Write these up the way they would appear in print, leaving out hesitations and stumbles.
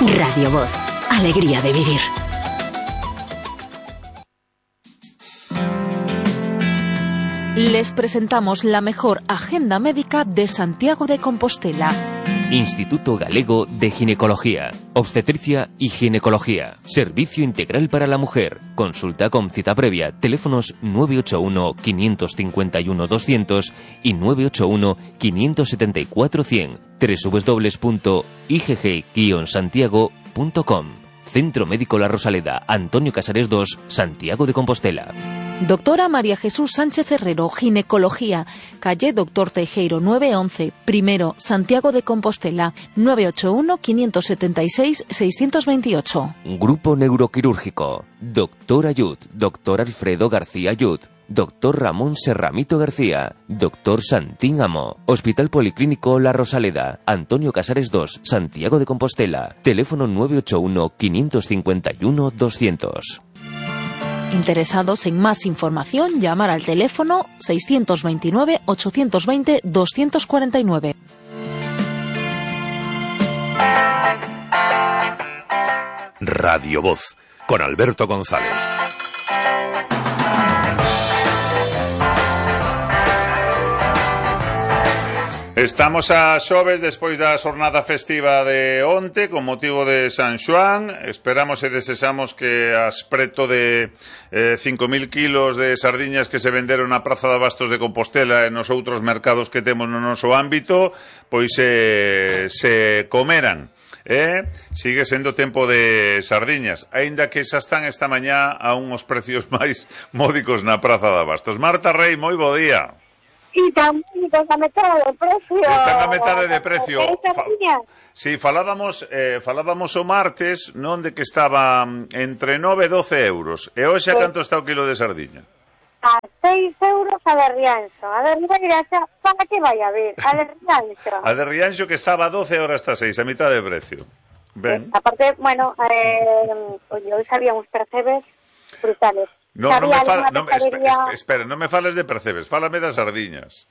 Radio Voz. Alegría de vivir. Les presentamos la mejor agenda médica de Santiago de Compostela. Instituto Galego de Ginecología, Obstetricia y Ginecología. Servicio integral para la mujer. Consulta con cita previa. Teléfonos 981 551 200 y 981 574 100. www.igg-santiago.com. Centro Médico La Rosaleda, Antonio Casares 2, Santiago de Compostela. Doctora María Jesús Sánchez Herrero, Ginecología, calle Doctor Teijeiro 911, primero, Santiago de Compostela, 981-576-628. Grupo Neuroquirúrgico, Doctor Ayud, Doctor Alfredo García Ayud, Doctor Ramón Serramito García, Doctor Santín Amo, Hospital Policlínico La Rosaleda, Antonio Casares 2, Santiago de Compostela, teléfono 981-551-200. Interesados en más información, llamar al teléfono 629-820-249. Radio Voz, con Alberto González. Estamos a xoves despois da xornada festiva de onte con motivo de San Xoán. Esperamos e desexamos que as preto de 5.000 kilos de sardiñas que se venderon na Praza de Abastos de Compostela e nos outros mercados que temos no noso ámbito pois se comeran. Sigue sendo tempo de sardiñas, aínda que xa están esta mañá a uns precios máis módicos na Praza de Abastos. Marta Rei, moi bo día. E están a metade de precio. Están a metade de precio. Sí, falábamos o martes, non, de que estaba entre 9 e 12 euros. E hoxe a canto está o kilo de sardiña? A 6 euros a de Rianxo. A de Rianxo, para que vai a ver? A de Rianxo. A de Rianxo que estaba a 12 horas hasta 6, a mitad de precio. Ben. Aparte, bueno, hoxe había uns percebes brutales. Espera, non me fales de percebes, fálame das sardiñas.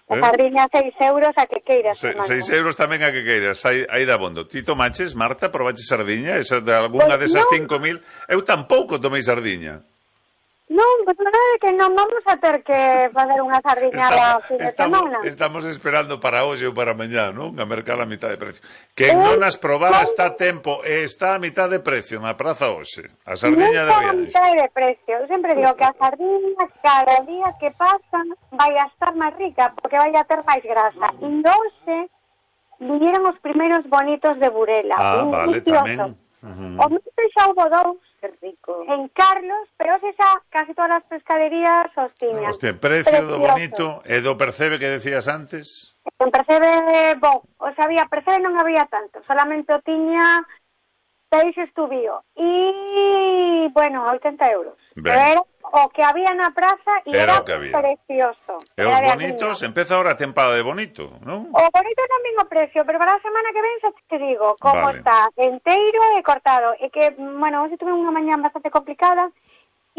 A sardiña 6 euros a que queiras. 6 euros tamén a que queiras, aí da bondo. Ti tomaches, Marta, probaches sardiña? Esa de alguna desas 5.000? Eu tampouco tomei sardiña. Non, pues non é que non vamos a ter que fazer unha sardiñada fin de semana. Estamos esperando para hoxe ou para mañá, non? A mercar a mitad de precio. Que non as probara está a tempo e está a mitad de precio na praza hoxe. A sardiña de Rianxo. Non está a mitad de precio. Eu sempre digo que a sardiña cada día que pasa vai a estar máis rica porque vai a ter máis grasa. E hoxe viñeron os primeiros bonitos de Burela. Vale, tamén. O mes xa houve dous. Rico. En Carlos, pero xa casi todas as pescaderías os tiñan. Precio do bonito e do percebe que decías antes? En percebe, había percebe non había tanto, solamente o tiña 6 estubío e, 80 euros. Pero era o que había na praza e era precioso. E os bonitos, empeza ahora a tempada de bonito, non? O bonito tamén o precio, pero para a semana que ven xa te digo como está enteiro e cortado. E que, hoxe tuve unha mañá bastante complicada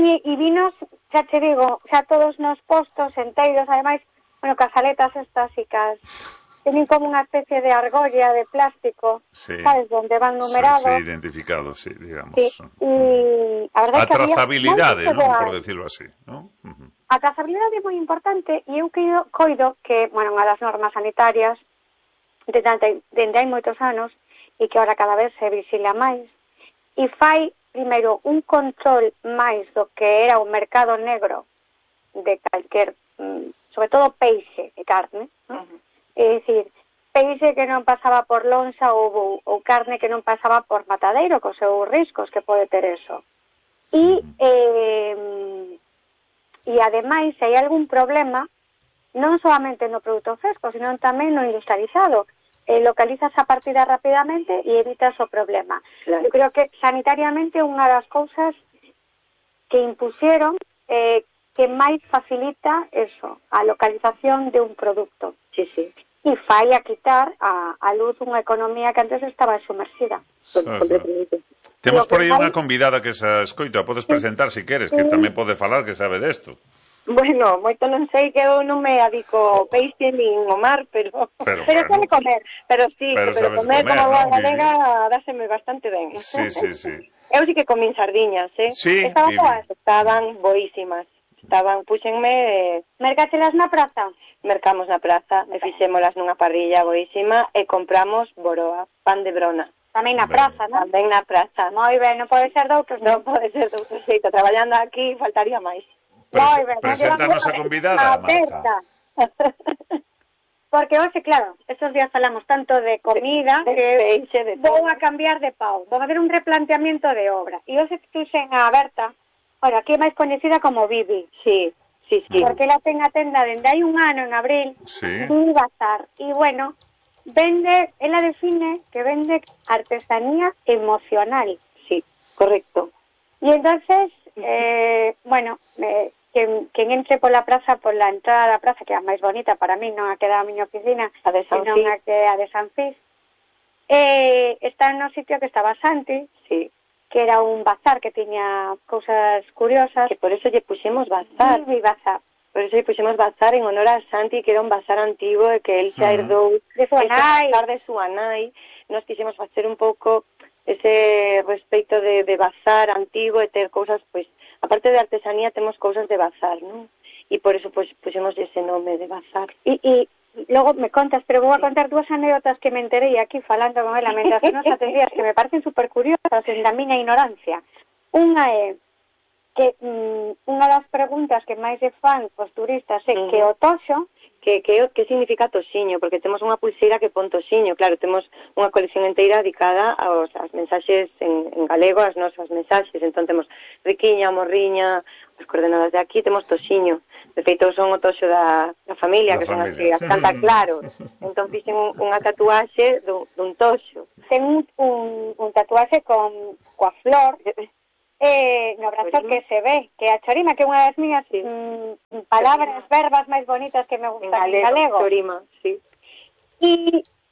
e vinos, xa te digo, xa todos nos postos enteiros, ademais, casaletas estas e teñen como unha especie de argolla de plástico, sabes, donde van numerados. Sí, identificados, sí, digamos. Sí, e a verdade a trazabilidade, non, por decirlo así, non? A trazabilidade é moi importante e eu coido que, unha das normas sanitarias dende hai moitos anos e que agora cada vez se visila máis e fai, primeiro, un control máis do que era o mercado negro de calquer, sobre todo peixe e carne, non? É dicir, peixe que non pasaba por lonxa ou carne que non pasaba por matadeiro, cos seus riscos que pode ter eso. E ademais, se hai algún problema, non solamente no produto fresco, sino tamén no industrializado, localizas a partida rapidamente e evitas o problema. Claro. Eu creo que sanitariamente unha das cousas que impusieron que máis facilita eso, a localización de un produto. Sí, sí. E fai a quitar a luz unha economía que antes estaba sumerxida. Temos por aí unha convidada que se escoita, podes presentar se queres, que tamén pode falar, que sabe desto. Bueno, moito non sei, que eu non me adico ao peixe nin ao mar, pero Pero sabe comer. Pero sí, Pero pero sabes comer comer, como boa ¿no? galega dáseme bastante ben. Sí. Eu sí que comín sardiñas, Sí, Estaban Vivi. boas. Estaban boísimas. Puxenme, Mercáchelas na praza. mercamos na praza, e fixémolas nunha parrilla boísima e compramos boroa, pan de brona. Tamén na Ben. praza, non? Tamén na praza. Moi ben, non pode ser doutros. Non pode ser de outro xeito. Traballando aquí faltaría máis. Moi ben. Preséntanos a convidada, Marta. Porque hoxe, claro, estos días falamos tanto de comida De que peixe, de vou todo. a cambiar de pau. Vou a ver un replanteamiento de obra. E hoxe puxen a Berta, ora, que é máis coñecida como Bibi. Sí. Porque ela ten a tenda dende hai un ano, en abril, Sí. un bazar. E, bueno, ela define que vende artesanía emocional. Sí, correcto. E entonces, quen entre pola praza, pola entrada da praza, que é a máis bonita para mí, non a que dá a miña oficina, A de San senón Fis. a que é a de San Fis, está no sitio que estaba Santi, Sí. que era un bazar que tiña cousas curiosas. Que por eso lle puxemos bazar. Bibi Bazar. Por eso lle puxemos bazar en honor a Santi, que era un bazar antigo e que él xa herdou De súa nai. bazar de súa nai. Nos quixemos facer un pouco ese respecto de bazar antigo e ter cousas, pois, aparte de artesanía, temos cousas de bazar, non? E por eso, pois, puxemos ese nome de bazar. E logo me contas, pero vou a contar dúas anécdotas que me enterei aquí falando con ela mentras que nos atendías, que me parecen super curiosas en da miña ignorancia. Unha é que unha das preguntas que máis se fan os turistas é que o toxo, Que significa toxiño, porque temos unha pulseira que pon toxiño. Claro, temos unha colección inteira dedicada aos mensaxes en galego, as nosas mensaxes. Entón temos riquiña, morriña, as coordenadas de aquí, temos toxiño. De feito, son o toxo da familia, Da que son familia. así, as Santa Claro. Entón fixen unha tatuaxe dun toxo. ten un tatuaxe coa flor no brazo Chorima. que se ve, que a chorima, que é unha das miñas palabras, verbas máis bonitas que me En gustan en galego. chorima, sí.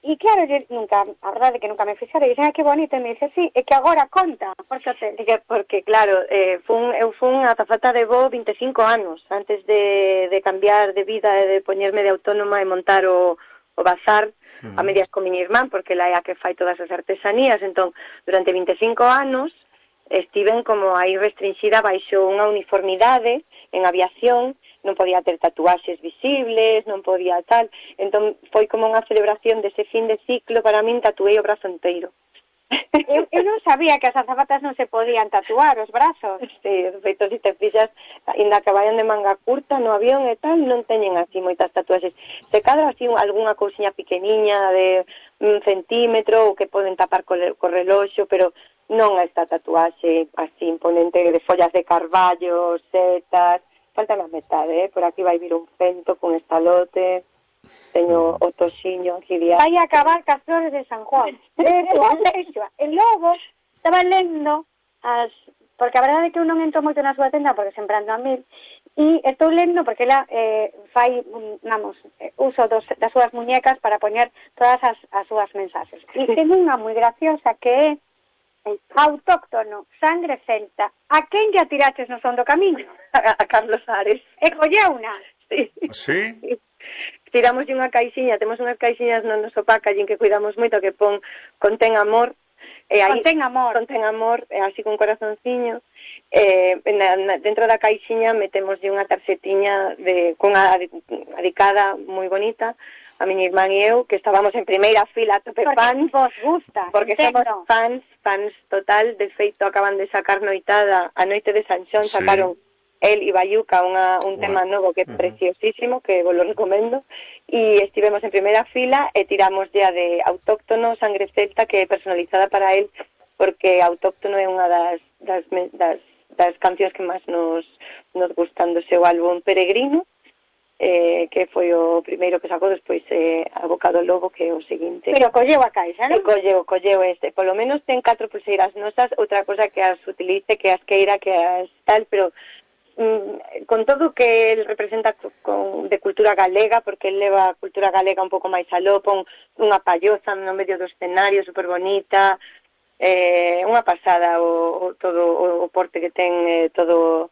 E claro, a verdade é que nunca me fixera, e dixen, que bonito, e me dice, sí, é que agora conta, porque Porque claro, eu fun azafata de voo 25 anos antes de cambiar de vida e de poñerme de autónoma e montar o bazar a medias con miña irmán, porque ela é a que fai todas as artesanías. Entón, durante 25 anos estiven como aí restringida baixo unha uniformidade en aviación, non podía ter tatuaxes visibles, non podía tal. Entón foi como unha celebración dese fin de ciclo. Para min tatuei o brazo inteiro. eu non sabía que as azafatas non se podían tatuar os brazos. Sí, de feito, se te fixas, ainda que vayan de manga curta no avión e tal, non teñen así moitas tatuaxes. Se cadra así algunha cousiña pequeniña de 1 centímetro ou que poden tapar co reloxo, pero non esta tatuaxe así imponente de follas de carballo, setas. Falta a metade, por aquí vai vir un fento con estalote. Teño o toxiño aquí diario. Vai a acabar cas flores de San Juan. E logo estaba lendo porque a verdade é que eu non entro moito na súa tenda porque sempre ando a mil, e estou lendo porque ela fai, uso das súas muñecas para poñer todas as súas mensaxes. E ten unha moi graciosa que é autóctono, sangre celta. A quen lle atiraches no son do camiño? A Carlos Ares. E colleuna. Sí. Sí? Tiramos unha caixiña, temos unhas caixiñas no noso packaging que cuidamos moito, que contén amor. Contén amor. Contén amor, así con corazonciño. Dentro da caixiña metemos unha tarxetiña cunha adicada moi bonita a miña irmán e eu, que estábamos en primeira fila a tope fans. Vos gusta. Porque somos fans total. De feito, acaban de sacar noitada, a noite de San Xón, Sí. sacaron el e Bayuca un tema novo que é preciosísimo, que vos lo recomendo, e estivemos en primeira fila e tiramos ya de autóctono, sangre celta, que é personalizada para él, porque autóctono é unha das cancións que máis nos gustan do seu álbum Peregrino, que foi o primeiro que sacou. Despois A Boca do Lobo, que é o seguinte. Pero colleu a caixa, non? Colleu este. Polo menos ten 4 pulseiras nosas, outra cosa que as utilice, que as queira, que as tal, pero con todo que el representa de cultura galega, porque el leva a cultura galega un pouco máis aló, pon unha palloza no medio do escenario super bonita, unha pasada todo o porte que ten, todo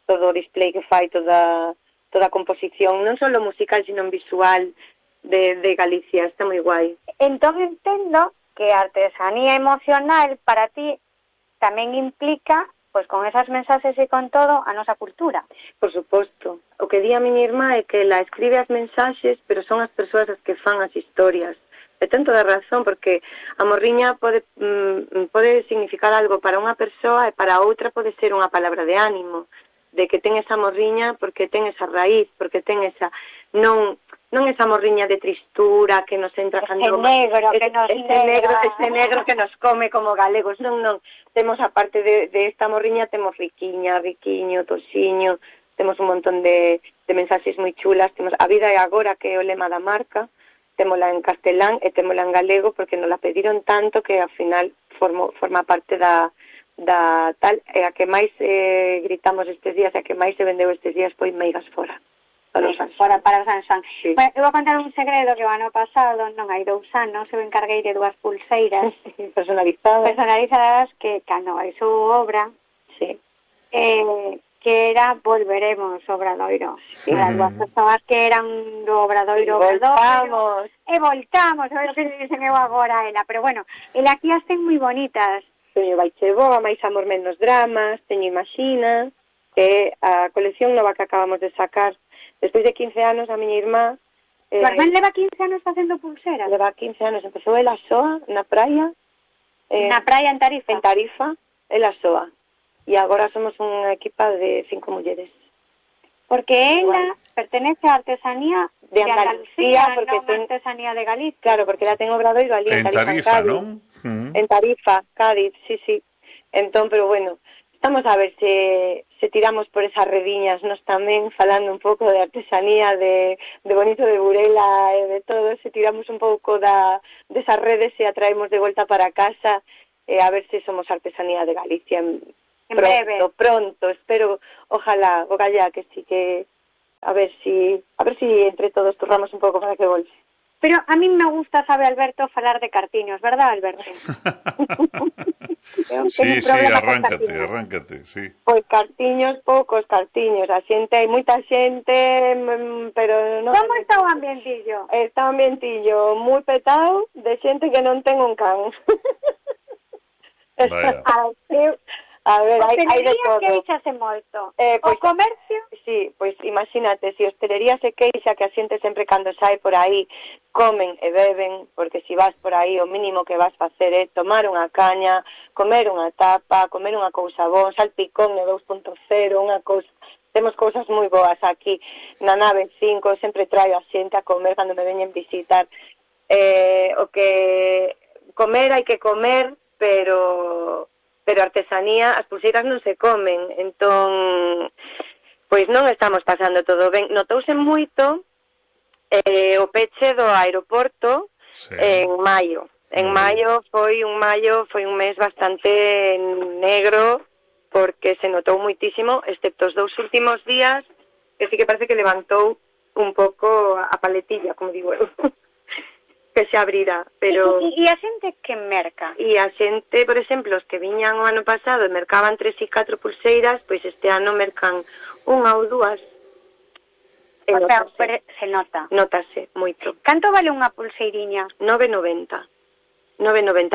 o display que fai, toda toda a composición, non só musical, sino visual de Galicia, está moi guai. Entón entendo que a artesanía emocional para ti tamén implica, pois con esas mensaxes e con todo, a nosa cultura. Por suposto. O que di a miña irmá é que ela escribe as mensaxes, pero son as persoas as que fan as historias. E ten toda a razón, porque a morriña pode significar algo para unha persoa e para outra pode ser unha palabra de ánimo, de que ten esa morriña porque ten esa raíz, porque ten esa... Non esa morriña de tristura que nos entra... Ese negro que nos come como galegos. Non. Temos, aparte de esta morriña, temos riquiña, riquiño, tosiño, temos un montón de mensaxes moi chulas. Temos A vida é agora, que é o lema da marca, témola en castelán e témola en galego, porque nos la pediron tanto que ao final forma parte da tal, e a que máis gritamos estes días, e a que máis se vendeu estes días foi Meigas fora. Para o San Xoán. Sí. Bueno, eu vou contar un segredo que o ano pasado, non hai 2 anos, eu encarguei de 2 pulseiras personalizadas que cando hizo obra, sí, que era Volveremos Obradoiro. E as 2 persoas que eran do Obradoiro voltamos, a ver o que dicen eu agora a ela, pero bueno, ela aquí as ten moi bonitas. Teño Baiche Boa, Máis amor menos dramas, teño Imagina, que a colección nova que acabamos de sacar. Despois de 15 anos, a miña irmá... Tu irmán leva 15 anos facendo pulseras? Leva 15 anos, empezou ela soa, na praia. Na praia en Tarifa? En Tarifa, ela soa. E agora somos unha equipa de 5 mulleres. Porque ela pertenece á artesanía de Andalucía, porque non artesanía de Galicia. Claro, porque ela ten obradoiro ali en Tarifa, Cádiz, non? En Tarifa, Cádiz, sí. Entón, pero bueno, estamos a ver se tiramos por esas rediñas, nos tamén falando un pouco de artesanía, de Bonito de Burela e de todo, se tiramos un pouco desas redes e atraemos de volta para casa, a ver se somos artesanía de Galicia pronto, espero, ojalá, que sí, que a ver si entre todos turramos un pouco para que volve. Pero a mí me gusta, sabe Alberto, falar de cartiños, verdad, Alberto? Sí, arráncate, sí. Pois cartiños, poucos cartiños, hai moita xente, pero non... Como está o ambientillo? Está o ambientillo moi petado de xente que non ten un can. Vaya. A ver, hai de todo. Que queixase moito. Pois, o comercio? Sí, pois imagínate, se hostelería se queixa que a xente sempre cando sai por aí comen e beben, porque se vas por aí o mínimo que vas facer é tomar unha caña, comer unha tapa, comer unha cousa boa, salpicón de 2.0, unha cousa... Temos cousas moi boas aquí na nave 5, sempre traio a xente a comer cando me veñen visitar. O que comer hai que comer, pero artesanía, as pulseiras non se comen, entón, pois non estamos pasando todo ben. Notouse moito o peche do aeroporto en maio. En maio foi un mes bastante negro, porque se notou moitísimo, excepto os 2 últimos días, que sí que parece que levantou un pouco a paletilla, como digo eu. Que se abrira, pero... E a xente que merca? E a xente, por exemplo, os que viñan o ano pasado e mercaban 3 e 4 pulseiras, pois este ano mercan 1 ou 2. O sea, se nota. Notase moito. Canto vale unha pulseiriña? 9,90.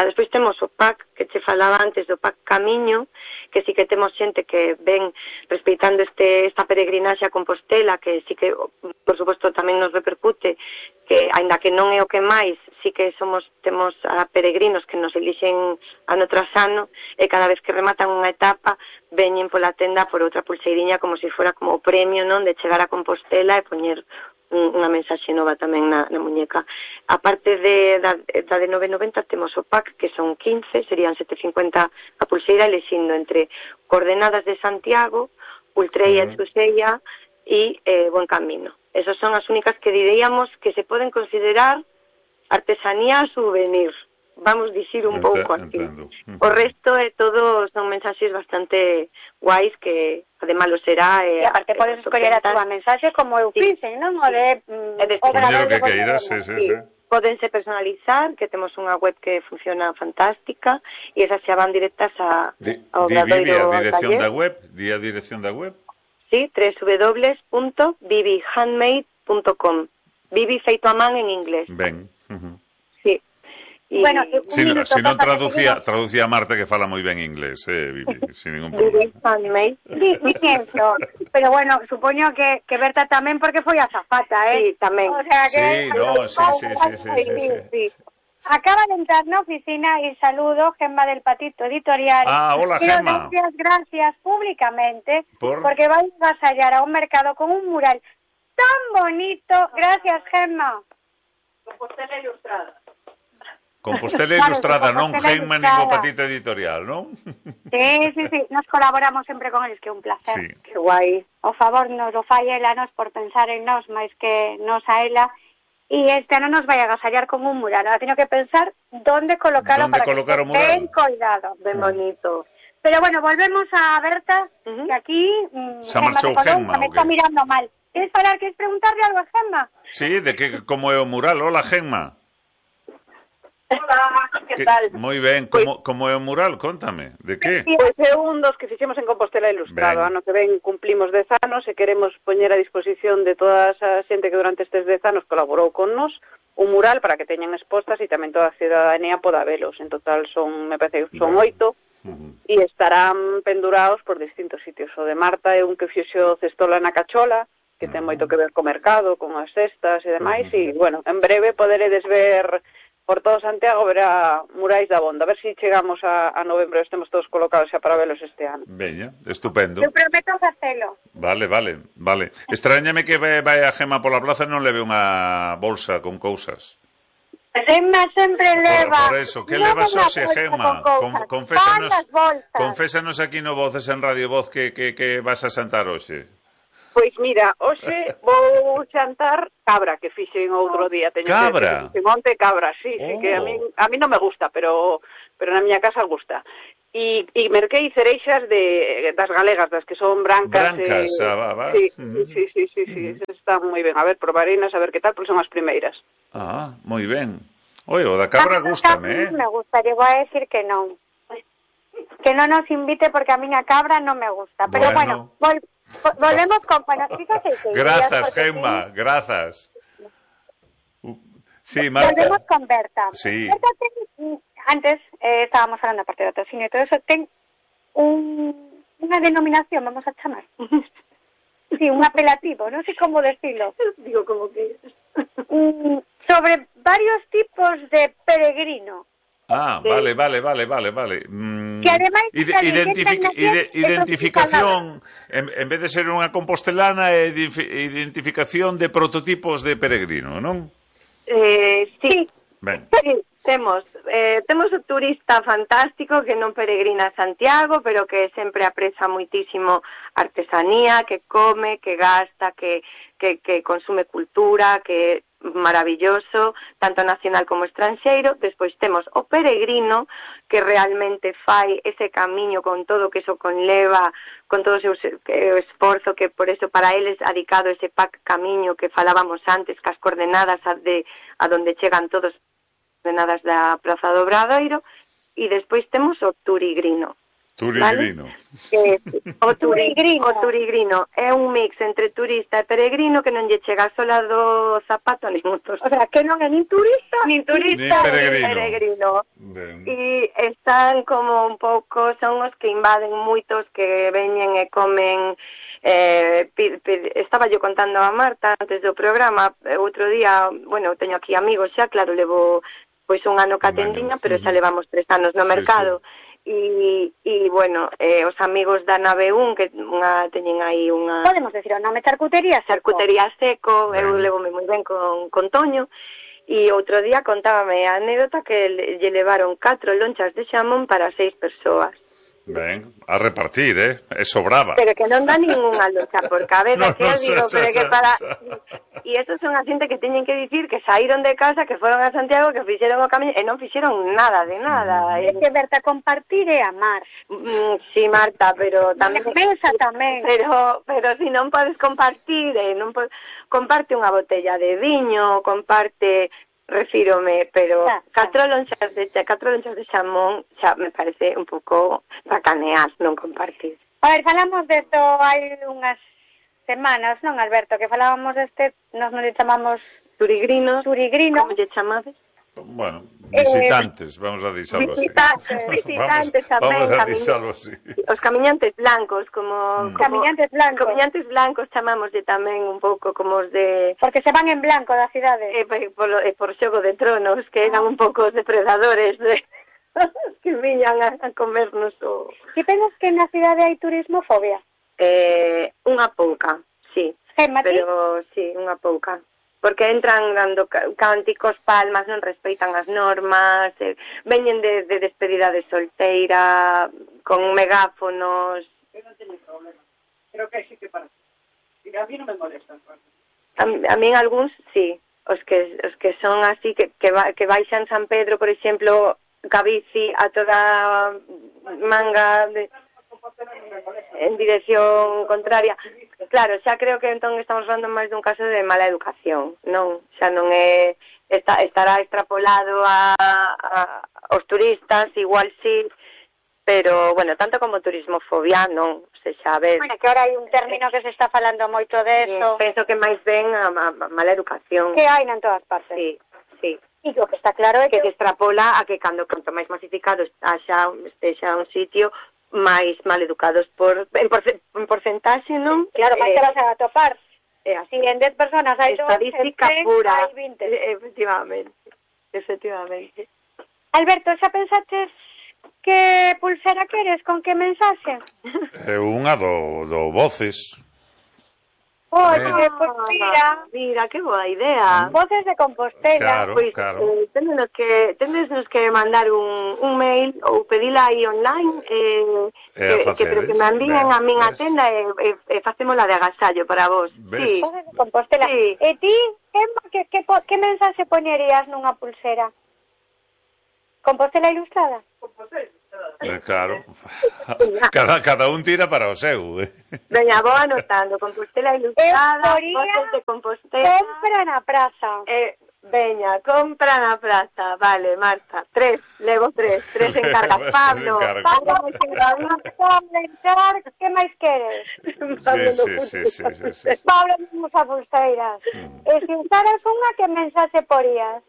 Despois temos o pack que che falaba antes, do pack Camiño, que sí que temos xente que ven respeitando esta peregrinaxe a Compostela, que sí que, por suposto, tamén nos repercute, que, aínda que non é o que máis, sí que temos a peregrinos que nos elixen ano tras ano, e cada vez que rematan unha etapa, veñen pola tenda por outra pulseiriña como se fora como o premio, non, de chegar a Compostela e poñer unha mensaxe nova tamén na muñeca. A parte da de 9,90 temos o pack, que son 15, serían 7,50 a pulseira, elixindo entre Coordenadas de Santiago, Ultreia e Susella e Buen Camino. Esas son as únicas que diríamos que se poden considerar artesanía souvenir. Vamos dicir un pouco así. O resto é todo, son mensaxes bastante guais que ademais lo será. E aparte podes escoller a túa mensaxe como eu fixen, non? O de Obrador que queiras, sí. Podense personalizar, que temos unha web que funciona fantástica, e esas xa van directas ao Obradoiro Di a dirección da web? Sí, www.bibihandmade.com. Bibi feito a man en inglés. Ben. Sí. Y, bueno, si non traducía a Marta, que fala moi ben inglés, Bibi, sin ningún problema. Bibi Handmade. Pienso, pero bueno, supoño que Berta tamén, porque foi azafata, Sí, tamén. O sea que... Sí. Acaba de entrar na oficina y saludo Gemma del Patito Editorial. Hola, Gemma. Quiero gracias públicamente porque vais a vasallar a un mercado con un mural tan bonito. Gracias, Gemma. Compostela Ilustrada. Compostela Ilustrada, non Gemma nin o Patito Editorial, non? Sí, nos colaboramos sempre con eles, que é un placer. Sí. Que guai. O favor nos lo fai ela, nos por pensar en nós, máis que nos a ela. Y este ano nos vai a agasallar con un mural. Ahora teño que pensar dónde colocarlo para que esté ben coidado. Ben bonito. Pero bueno, volvemos a Berta, que aquí se marchou Gemma, me está mirando mal. Queres preguntarle algo a Gemma? Sí, de que como é o mural. Hola, Gemma. Hola, que tal? Moi ben, como é o mural? Contame, de que? Pois é un dos que fixemos en Compostela Ilustrado. Ano que ven cumplimos 10 anos e queremos poñer a disposición de toda a xente que durante estes 10 anos colaborou con nos un mural para que teñan expostas e tamén toda a cidadanía poda velos. En total me parece que son 8 e estarán pendurados por distintos sitios. O de Marta é un que fixo Cestola na Cachola, que ten moito que ver co mercado, con as cestas e demais, e, bueno, en breve poderedes ver por todo Santiago, verá murais da Bonda. A ver se chegamos a novembro e estemos todos colocados xa para velos este ano. Veña, estupendo. Eu prometo facelo. Vale. Extrañame que vai a Gemma pola plaza e non leve unha bolsa con cousas. Gemma sempre leva. Por eso, que levas hoxe, Gemma? Confésanos aquí no Voces en Radio Voz que vas a xantar hoxe. Pois mira, hoxe vou xantar cabra, que fixen outro día. Cabra? Monte cabra, sí, que a mí non me gusta, pero na miña casa gusta. E merquei cereixas das galegas, das que son brancas. Va. Sí, están moi ben. A ver, probareinas, a ver que tal, porque son as primeiras. Moi ben. Oi, o da cabra gústame, Me gusta, llego a decir que non. Que non nos invite porque a miña cabra non me gusta. Pero bueno volvemos con... Bueno, fíjate que... Grazas, Gemma, grazas. Sí, Marta. Volvemos con Berta. Sí. Berta antes estábamos hablando aparte de patrocinio y todo eso, ten unha denominación, vamos a chamar. Sí, un apelativo, non sei como decirlo. Digo como que... sobre varios tipos de peregrino. Vale. Que ademais identificación, en vez de ser unha compostelana, é identificación de prototipos de peregrino, non? Sí. Ben. Sí, temos o turista fantástico que non peregrina a Santiago, pero que sempre apreza moitísimo artesanía, que come, que gasta, que consume cultura, que maravilloso, tanto nacional como estranxeiro. Despois temos o peregrino, que realmente fai ese camiño con todo o que eso conleva, con todo o seu esforzo, que por eso para eles ha dedicado ese camiño que falábamos antes, cas coordenadas a donde chegan todos, coordenadas da Praza do Obradoiro. E despois temos o turigrino. Turigrino. ¿Vale? O turigrino é un mix entre turista e peregrino que non lle chega sola do zapato nin motos. O sea, que non é nin turista nin peregrino. E están como un pouco, son os que invaden moitos, que veñen e comen. Estaba yo contando a Marta antes do programa, outro día, bueno, teño aquí amigos xa, claro, levo pois un ano ca tendiña, pero xa levamos 3 anos no mercado. E bueno, os amigos da Nave 1 que teñen aí unha... Podemos decir o nome, Charcutería Seco. Eu levome moi ben con Toño. E outro día contábame a anécdota que lle levaron 4 lonchas de xamón para 6 persoas. Ben, a repartir, é sobraba. Pero que non dá ninguna loncha por cabeza, que eu digo, pero que para... E esos son a xente que teñen que dicir que saíron de casa, que foron a Santiago, que fixeron o camiño, e non fixeron nada de nada. É que, Berta, compartir é amar. Sí, Marta, pero tamén... Mesa tamén. Pero si non podes compartir, comparte unha botella de viño, comparte... Refírome, pero 4 lonchas de xamón xa me parece un pouco sacanear, non compartir. A ver, falamos de isto hai unhas semanas, non, Alberto, que falábamos deste, nos non lle chamamos Turigrinos. Turigrinos. Como lle chamades? Bueno, visitantes, vamos a deixalo así. Visitantes tamén. Vamos a deixalo así. Os camiñantes blancos, como Camiñantes blancos. Camiñantes blancos chamámoslle tamén un pouco como os de... Porque se van en blanco da cidade. Por Xogo de Tronos, que eran un pouco os depredadores que viñan a comernos o... Ti pensas que na cidade hai turismofobia? Unha pouca, sí. Pero sí, unha pouca. Porque entran dando cánticos, palmas, non respeitan as normas, veñen de despedida de solteira, con megáfonos. Eu non teño problema. Creo que sí que para. A mí non me molestan. A mí algúns, sí. Os que son así, que baixan San Pedro, por exemplo, ca bici a toda manga en dirección contraria. Claro, xa creo que entón estamos falando máis dun caso de mala educación, non? Xa non é estará extrapolado aos turistas, igual sí, pero, bueno, tanto como turismofobia, non, se xa ves. Bueno, que ahora hai un término que se está falando moito deso. Penso que máis ben a mala educación. Que hai en todas partes. Sí, sí. E o que está claro é que se extrapola a que cando máis masificado estexa un sitio, máis mal educados en porcentaxe, non? Claro, máis te vas a atopar. Si en 10 personas hai estadística pura. Hai 20. Efectivamente. Alberto, xa pensaches que pulsera queres, con que mensaxe? Unha do Voces. Oye, pues mira, que boa idea. Voces de Compostela. Claro, pues, claro. Tendenos que mandar un mail ou pedila aí online que me envíen a min a tenda e facémola de agasallo para vos. Sí. Voces de Compostela. Sí. E ti, que mensaxe poñerías nunha pulsera? Compostela Ilustrada? Compostela Ilustrada. Claro. Cada un tira para o seu. Veña, vou anotando. Compostela Ilustrada, Voces de Compostela. Compra na praza. Veña, compra na praza. Vale, Marta. 3, levo 3 encargas. Pablo, que máis queres? Sí. Pablo, vamos a pulseiras. E se usaras unha, que mensaxe porías?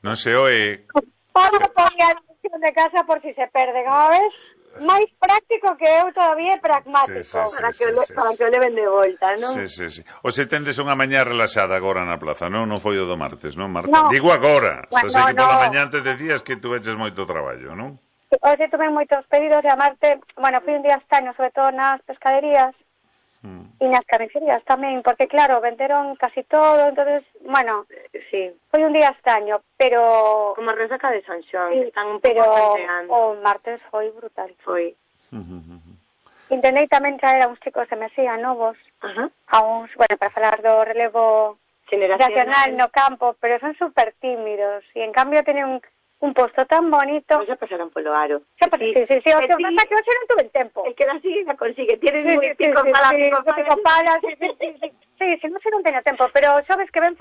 Non se oe. Pablo ponía a dirección de casa por si se perde, como ves? Máis práctico que eu todavía é pragmático. Para que o leven de volta, non? Sí. O se tendes unha mañá relaxada agora na plaza, non? Non foi o do martes, non, Marta? No. Digo agora. Bueno, sei que pola mañá antes decías que tu eches moito traballo, non? Hoxe tuve moitos pedidos de amarte. Bueno, fui un día estaño, sobre todo nas pescaderías. E nas carnicerías tamén, porque claro, venderon casi todo, entonces, bueno, sí, foi un día estaño, pero como a resaca de San Xoán, sí, están un pero pouco o martes foi brutal. Foi. Intentei tamén traer a uns chicos de Mesía novos, a uns, bueno, para falar do relevo generacional no campo, pero son super tímidos, e en cambio teñen un posto tan bonito. Pois xa pasaron polo aro. Sí, o que pasa que hoxe non tuve tempo. El que la sigue la consigue. Tienes muy Sí, non teño tempo, pero sabes que ven